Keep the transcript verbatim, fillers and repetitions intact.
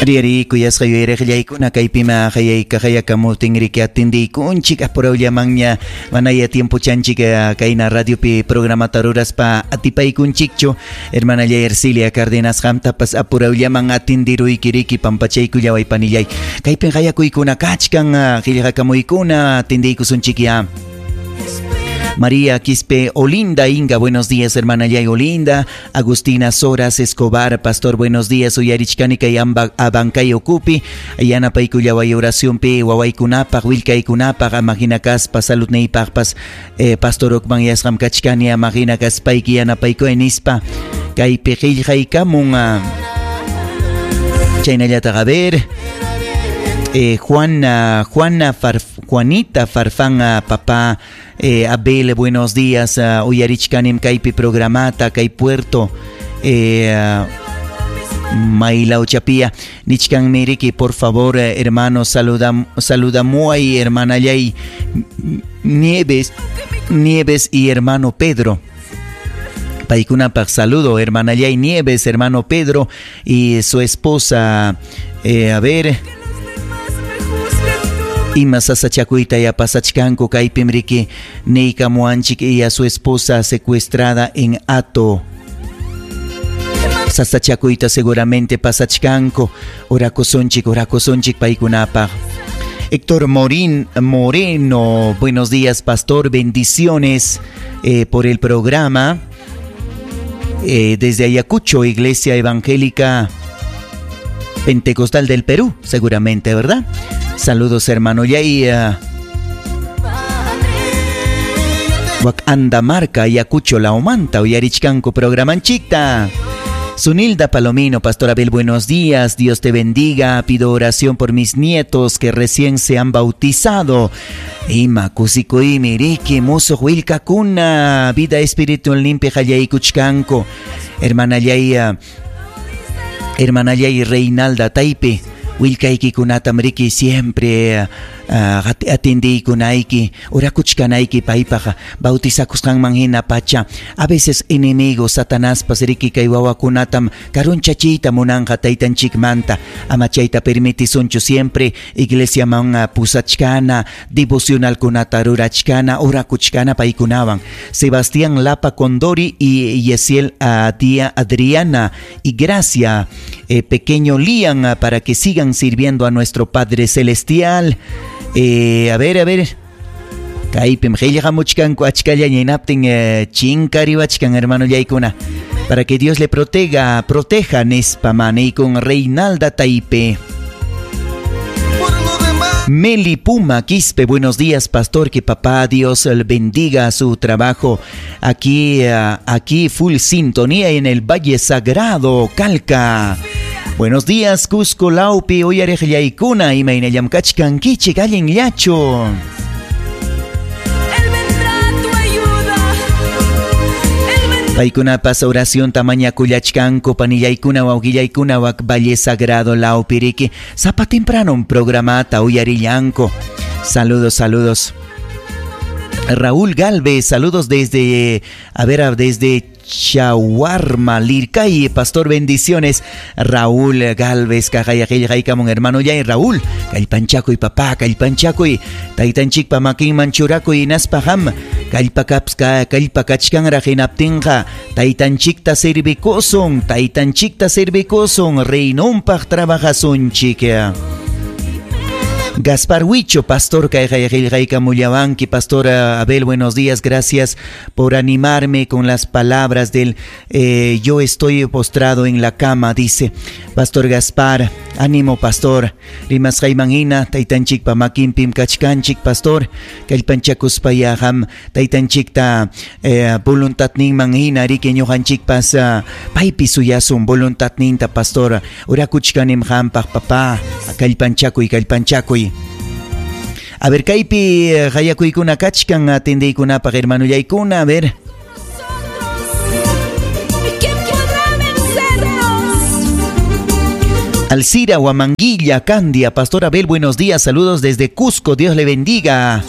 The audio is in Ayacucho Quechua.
Ariari kuyasqa yuyariqllaykuna kaypima hayaykahayakamuptinriki atindiykunchik apurawllamanña manaya tiempo chanchik kayna radiopi programata ruraspa atipaykunchikchu. Hermanallay Ercilia Cárdenas qamtapas apurawllaman atindiruykiriki pampachaykullaway panillay. Kaypin hayakuykuna kachkan qillqakamuykuna atindiykusunchikya. María Quispe Olinda Inga, buenos días, hermana Yay Olinda. Agustina Soras Escobar, pastor, buenos días. Uyarichkani kay Abancay ukupi. Yanapaykullaway oracionpi wawaykunapaq, willkaykunapaq, amahina kaspa, saludniypaqpas, eh, pastor ukman yasqam kachkani amahina kaspayki yanapaykuy nispa. Kaypi qillqaykamun. Chaynallataq, a ver. Eh, Juana, Juana Farf, Juanita Farfán, papá eh, Abel, buenos días. Uh, uyarichkanim kaypi programata, kay puerto. Eh, Mailauchapia, nichkan miriki, por favor, hermano, saludam, saludamuay, hermana Yay Nieves, Nieves y hermano Pedro. Paykunapaq saludo, hermana Yay Nieves, hermano Pedro y su esposa, eh, a ver. Ima sasachakuyta ya pasachkanku kaypim riki niykamuwanchik y a su esposa secuestrada en Ato. Sasachakuyta seguramente pasachkanku. Orakusunchik, orakusunchik paykunapaq. Héctor Morín Moreno, buenos días, pastor, bendiciones eh, por el programa. Eh, desde Ayacucho, Iglesia Evangélica Pentecostal del Perú, seguramente, ¿verdad? Saludos, hermano. Yay, uh, Andamarca, Ayacucho, Laumanta, uyarichkanku programanchikta. Sunilda Palomino, Pastor Abel, buenos días, Dios te bendiga, pido oración por mis nietos que recién se han bautizado. Ima kusikuymi riki musuq willkakuna, vida espiritual limpia qallaykuchkanku. Hermana Yaya, hermana Yay Reinalda Taipe, willkaykikunatam riki siempre uh, atendiykunayki, orakuchkanayki paypaq bautizakusqanman hina pacha. A veces enemigo Satanaspas riki kay wawakunatam karunchachiyta munanqa taytanchikmanta. Ama chayta permitisunchu, siempre iglesiaman pusachkana, devocionalkunata rurachkana, orakuchkana paykunawan. Sebastián Lapa Condori y Yesiel Tía Adriana y Gracia, eh, pequeño Lian, para que sigan sirviendo a nuestro Padre Celestial. Eh, a ver, a ver. Kaypim qillqamuchkanku achkallaña hinaptin eh, chinkariwachkan hermano llaykuna. Para que Dios le proteja, proteja nispa con Reinalda Taipe. Meli Puma Quispe, buenos días, pastor, que papá Dios bendiga su trabajo. Aquí, aquí full sintonía en el Valle Sagrado, Calca. Buenos días, Cusco Laupi, uyariqllaykuna, imaynallam kachkankichik, allinllachu. Él vendrá a tu ayuda. Él vendrá. Paykunapas oracionta mañakullachkanku panillaykuna wawqillaykuna wak Valle Sagrado lawpiriki sapa temprano programata uyarillanku. Saludos, saludos. Raúl Galvez, saludos desde, a ver, desde Chaguarma, Lircay, pastor, bendiciones. Raúl Galvez, kaqayaqillqaykamun hermano yay Raúl, kallpanchakuy papá, kallpanchakuy, taytanchikpa makinman churakuy hinaspa qam, kallpakapska, kallpakachkanraq hinaptinqa, taytanchikta servikusun, taytanchikta servikusun, reinonpaq trabajasunchik. Gaspar Huicho, pastor, kayqayqillqaykamullawanki, pastor Abel, buenos días, gracias por animarme con las palabras del eh, yo estoy postrado en la cama, dice Pastor Gaspar, ánimo pastor, rimasqayman hina, taytanchikpa makinpim kachkanchik, pastor, kallpanchakuspaya qam taytanchikta eh, voluntadninman hina riki ñuqanchikpas uh, paypi suyasun voluntadninta, pastor, orakuchkanim qampaq papá, kallpanchakuy, kallpanchakuy. A ver, kaypi qayakuykuna kachkan atendiykunapaq hermanullaykuna, a ver. ¿Y quién podrá vencernos? Alcira Huamanguilla, Candia, Pastor Abel, buenos días, saludos desde Cusco, Dios le bendiga.